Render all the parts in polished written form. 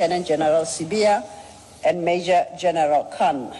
Lieutenant General Sibiya and Major General Khan.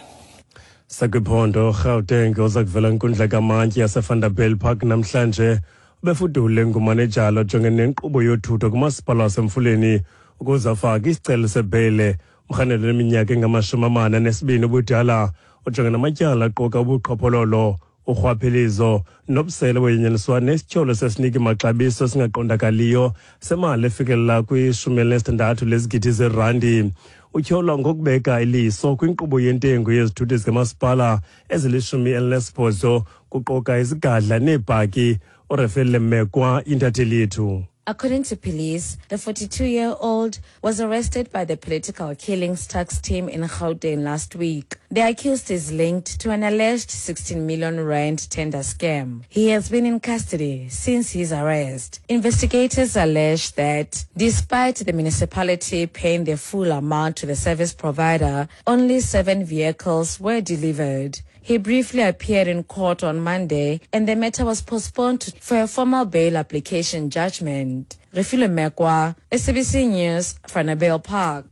Sakwiphondo Gauteng oza kuvela inkundla kamantyi yaseVanderbijl Park namhlanje ubefudule ngumanejala ojongene nenkqubo yothutho kumasipala wasemfuleni ukuze afake isicelo sebheyile. Umrhanelwa oneminyaka engama-42 ubudala ojongene namatyala aquka ubuqhophololo, urhwaphilizo nobusele wenyenyiswa nesityholo sesiniki maxabiso esingaqondakaliyo semali efikelela kwi-16 lezigidi zerandi. Utyholwa ngokubeka iliso kwinkqubo yentengo yezithuthi zikamasipala ezili-18, kuquka izigadla neebhaki. URefele Mekwa, intatheli yethu. According to police, the 42-year-old was arrested by the political killings tax team in Gauteng last week. The accused is linked to an alleged 16 million rand tender scam. He has been in custody since his arrest. Investigators allege that despite the municipality paying the full amount to the service provider, only 7 vehicles were delivered. He briefly appeared in court on Monday and the matter was postponed for a formal bail application judgment. Refile Mekwa, SABC News, Vanderbijl Park.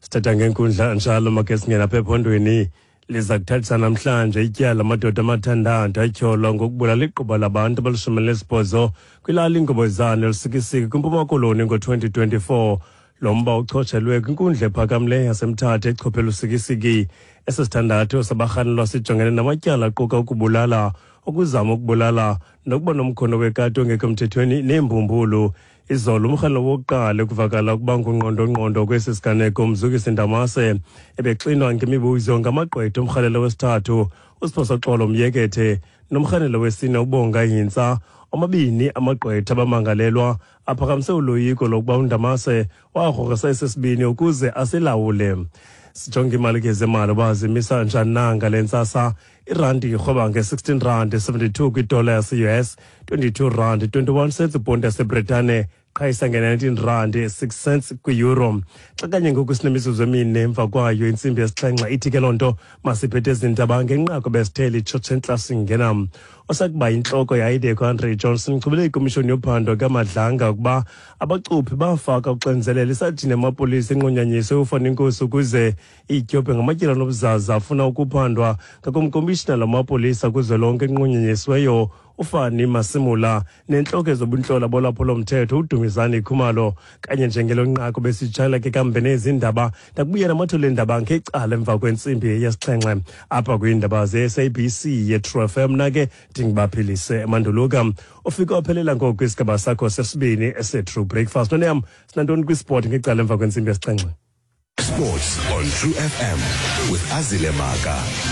Sithatha ngenkundla njalo, make singena apha ephondweni. Liza kuthathisa namhlanje ityala amadoda amathandathu atyholwa ngokubulala igquba labantu abali-18 kwilali iNgobozana eLusikisiki kwiMpuma Koloni ngo-2024. Lo mba uchotshelwe kwinkundla ephakamileyo yaseMthatha echophe Lusikisiki. Esisithandathu sabarhanelwa sijongene namatyala aquka ukubulala, ukuzama ukubulala nokuba nomkhono wekati ongekho mthethweni neembumbulu. Izolo umrhanelwa wokuqala ekuvakala ukuba ngungqondongqondo kwesi siganeko, Mzukisi Ndamase, ebexinwa ngemibuzo ngamagqwetha. Umrhanelwa wesithathu uSiphosoxolo Myekethe nomrhanelwa wesine uBonga Hintsa. Omabini amagqwetha abamangalelwa aphakamise uloyiko lokuba uNdamase wagrogrisa esesibini ukuze asilawule. Sijonge imali ke zemali uba zimisa njani na ngale ntsasa. Irandi irhweba nge-16 rand 72 kwidola yase-US, 22 rand 21 cents ibhondi yaseBritane, qhayisa nge-19 rand 6 cents kwi-euro. Xa kanye ngoku sinemizuzu emine emva kwayo intsimbi yesixhenxe, ithi ke loo nto masiphethe ezindaba ngenqaku besithele itshotshe entla. Singena osakuba yintloko yayiDeco Andre Johnson chubele ikomishoni yophando kaMadlanga ukuba abacuphi bafaka uxinzelelo isajini yamapolisa enqunyanyiswe uFani Nkosi ukuze ityobhe ngamatyala nobuzaza afuna ukuphandwa ngakumkomishina lamapolisa kuzwelonke enqunyanyisiweyo uFani Masimula nentloko ezobuntlola bolwaphulo-mthetho uDumizani Khumalo. Kanye njengelo nqaku besijala ke kambe nezindaba, ndakubuya namathole endaba ngecala emva kwentsimbi yesixhenxe apha kwiindaba ze-SABC ye-True FM. Nake ndingibaphilise emanduluka ufike waphelela ngoku kwisigaba sakho sesibini ese-True Breakfast. Noneyam sinantoni kwisport ngecala emva kwentsimbi yesixhenxe? Sports on True FM with Azile Maka.